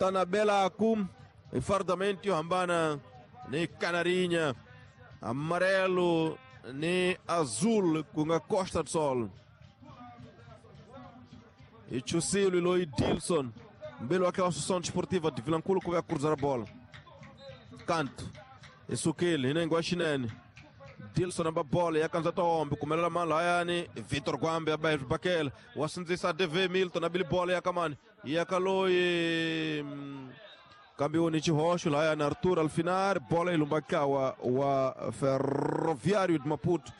Kutana belaku fardamento yo hambana ni Canarinha, amarelo ni azul ku nga Costa do Sol. E Chusilo loyi Dilson mbele wake wa Associação Desportiva de Vilankulo ku va cruzar a bola. Canto isukile hinengo wa xinene. Dilson amba bola ya kanza tombe kumelela mani layani Vitor Gwambe aba bakela wasindzisa DV Milton abili bola ya kamani ya kaloyi kambe ni xihoxo layani Arthur Alfinar bola ilumbakawa wa Ferroviário de Maputo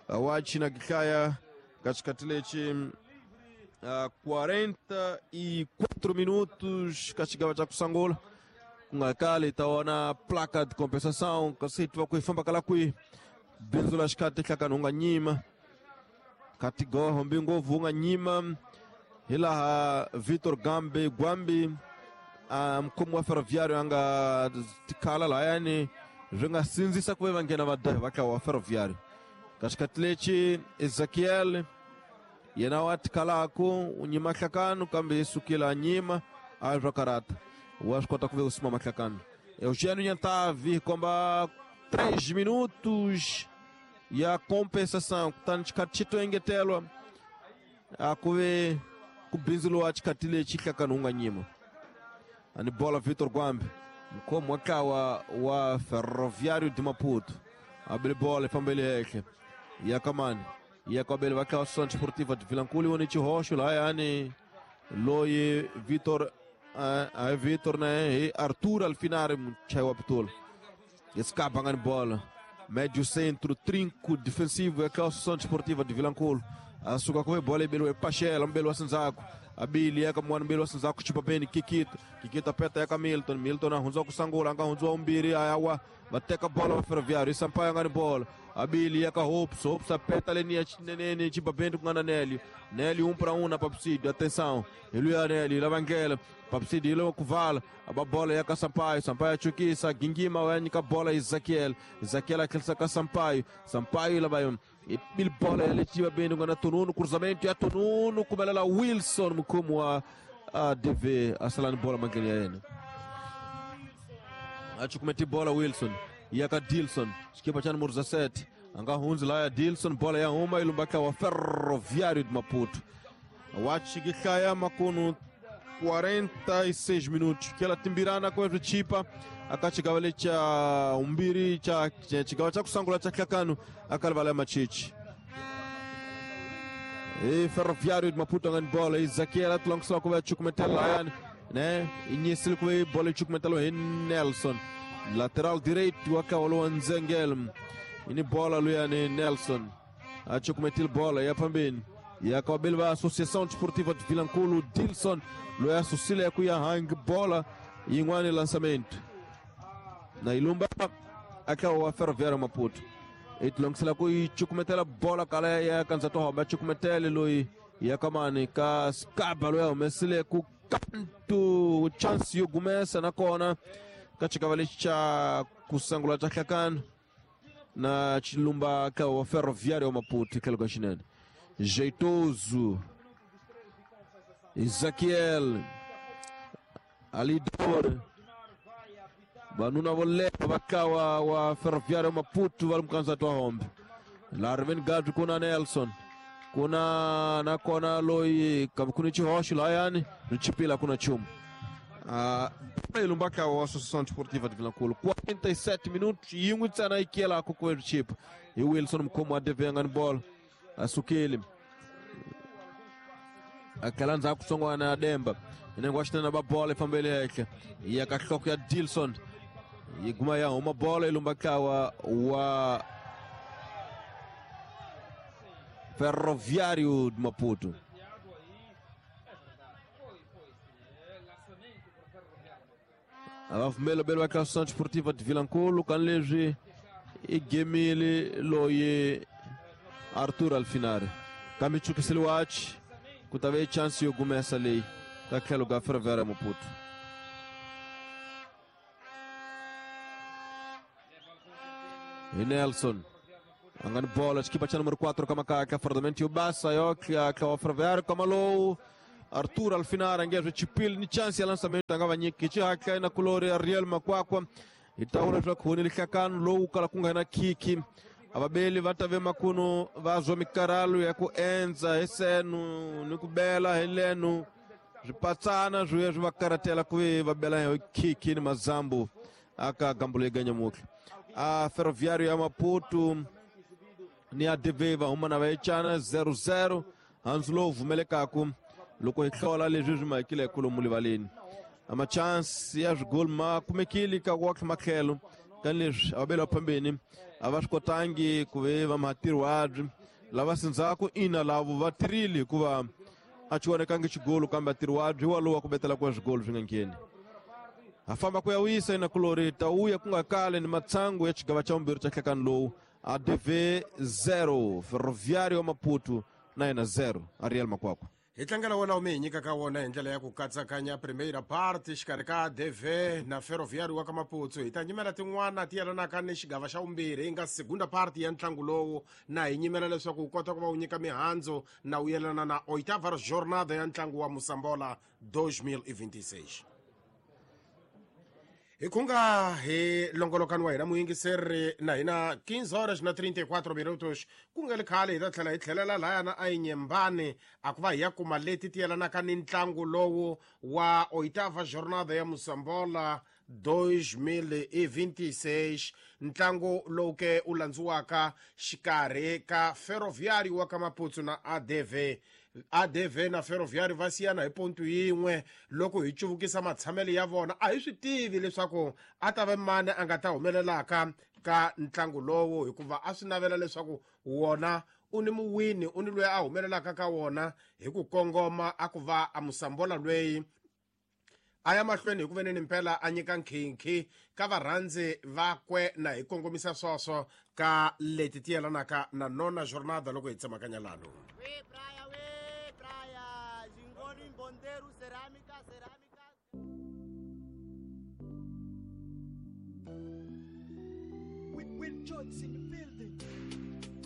wa china kihlaya katikati lechi 44 minutos kachigawa cha kusangula kungakali taona placa de compensação kasi twa kuifamba kala kwi bindzu la xikati hlakani unga nyima kati goho mbingovu unga nyima hilaha Vitor Gambe Gwambi mkhomi wa Ferroviário anga tikhala layani swi nga sindzisa ku ve va nghena va ka wa Ferroviário katikati lechi Ezekiel yena wa tikhalaku u nyima hlakano kambe i sukile a nyima a swa karata wa swi kota ku ve u sima mahlakano. Eugênio Nhantavi komba 3 minutos ya compensação kutani xikati xi to engetelwa a ku ve ku bindzuriwa xikati lexi hlakano wu nga nyima. Ani bola Vitor Gwambe mkhomi wa ntlawa wa Ferroviário de Maputo abile bola ifambele henhla ya kamani ya kwabele va ntlawa Associação Desportiva de Vilankulo woni xihoxo lahayani loyi Vitor Vitor né hi Arthur Alfinari muchayi wa pitula escapa ngani bola médio centro trinco defensivo ya ntlawa Associação Desportiva de Vilankulo asuka kuve bola ibeliwe Pachela mbeli wa Sinzaku abili yaka mwana mbeli wa Sinzaku chipa beni Kikito Kikito apeta yaka Milton Milton ahundziwa kusangula anga hundziwa umbiri ayawa vateka bola va Ferroviário Sampaio ngani bola abili yaka Hopes Hopes apeta leni ya chinenene chipa beni kungana Nélio Nélio 1 para 1 na Papsídio atenção iluya Nélio lavangela Papsídio ilo kuvala aba bola yaka Sampaio Sampaio achukisa gingima wanyika bola Ezekiel Ezekiel akilisa ka Sampaio Sampaio lavayo il bola yaletiwa beni ngana Tonuno cruzamento ya Tonuno kumelela Wilson mkhomi wa ADV asalani bola mangeni ya yena achukumeti bola Wilson yaka Dilson xikipa xa numero 17 anga hundzi laya Dilson bola ya huma ilumbaka wa Ferroviário de Maputo wa xikihlaya makunu 46 minutos kela timbirana kwa chipa akachigava lecha umbiri cha chigawa cha kusangula cha hlakano akalivala machichi e Ferroviário de Maputo ngani bola Ezekiel atulongisela kuva chukumetela layani né inyisile kuve bola chukumetela hi Nelson lateral direito wakawalo Nzengel ini bola luyani Nelson achukumetile bola ya pambeni yakawabeli va Associação Desportiva de Vilankulo Dilson loyi asusile ku ya hang bola yin'wani lançamento na ilumba aka wa Ferroviário Maputo itilongisela ku yi cukumetela bola kala ya kanza to hamba cukumetele loyi ya kamani ka skaba loyi a humesile ku kantu chance yo gumesa nakona ka xikava lexi xa kusangula xa hlakano na xilumba ka wa Ferroviário Maputo tlhelo ka xinene. Jeitoso Ezequiel Alidor vanuna vo leha va kawa wa Ferroviário Maputo va ri mukandzati wa hombe Larvin Gadri kuna Nelson kuna nakona loyi kambe ku ni xihoxo lahayani ri chipila kuna nchumu. Ilumbaka wa Associação Desportiva de Vilankulo 47 minutos yin'we ntsena yi kiyelaka ku ri chipa hi Wilson mukhomi wa devenga ni bola asukile akhala ndzhaku tsongwana ya Demba inengo wa xinene va bola ifambele henhla ya ka nhloko ya Dilson yi guma ya huma bola ilumba ntlawa wa Ferroviário de Maputo. Va pfumela belo va Associação Desportiva de Vilankulo kan leswi i gemile loyi Arthur Alfinari kambe chukisile wachi ku ta ve chance yo gumesa leyi ka tlhelo ka Ferroviário Maputo. Hi Nelson a nga ni bola xikipa xa numero 4 ka makaka fardamento yo basa yo tlha wa Ferroviário kama lowu Arthur Alfinara ngezwe chipili ni chance ya lançamento anga va nyiki xihatla na kulori Ariel Makwakwa hi ta vona leswaku huni lihlakano lowu kala ku nga na khikhi avabeli va ta ve makuno va zwa mikarhalo ya ku endza hi senu ni ku bela hi lenu swipatsana swi ya swi va karatela ku ve va bela hi khikhi ni mazambu aka gambulo yeganyamutlha a Ferroviário ya Maputo ni ADV va huma na va yecana 0-0 handzu lowu vumelekaku loko hi hlola leswi swi mahekile hi livaleni ama chance ya swigoli ma kumekile ka wakhe matlhelo ka leswi avabeli va phambeni a va swi kotangi ku ve va matirhiwabyi lava sindzhaku ina lavo va tirhile hikuva a xi vonekangi xigolo kambe atirhiwabyi walowu wa ku betela kuva swigolo swi nga ngheni ha famba ku ya wisa ina kulori ta wuya ku nga kale ni matsangu ya xigava xa vumbirhi xa nhlekani lowu ADV 0 Ferroviário ya Maputo na yena 0 Ariel Makwakwa. Hi tlangela wona wu mi hi nyikaka wona hi ndlela ya ku katsakanya primeira part xikarhi ka ADV na Ferroviário wa ka Maputo. Hi ta nyimela tin'wana ti yelanaka ni xigava xa vumbirhi yi nga segunda part ya ntlangu lowu, na hi nyimela leswaku wu kota ku va wu nyika mihandzu na wu yelana na oitava jornada ya ntlangu wa Mosambola 2026. Hi khunga hi longolokani wa hina muyingiseri na hina 15 horas na 34 minutos ku nga ri khale hi ta tlhela hi tlhelela lahayana a Inhambane a ku va hi ya kuma leti ti yelanaka ni ntlangu lowu wa oitava jornada ya Mosambola 2026, ntlangu lowu ke wu landziwaka xikarhi ka Ferroviário wa ka Maputo na ADV. ADV na Ferroviário va siyana hi pontu yin'we loko hi cuvukisa matshamelo ya vona. A hi swi tivi leswaku a ta va mani a nga ta humelelaka ka ntlangu lowu, hikuva a swi navela leswaku wona u ni muwini, u ni loyi a humelelaka ka wona hi ku kongoma, a ku va a Mosambola lweyi a ya mahlweni hi ku veneni mpela a nyika nkhinkhi ka varhandzi vakwe, na hi kongomisa swoswo ka leti ti yelanaka na nona jornada loko hi tsemakanya lano. We praia, we praia, Jingoni, Bondeiro, cerâmica, cerâmica. With Jones in the building.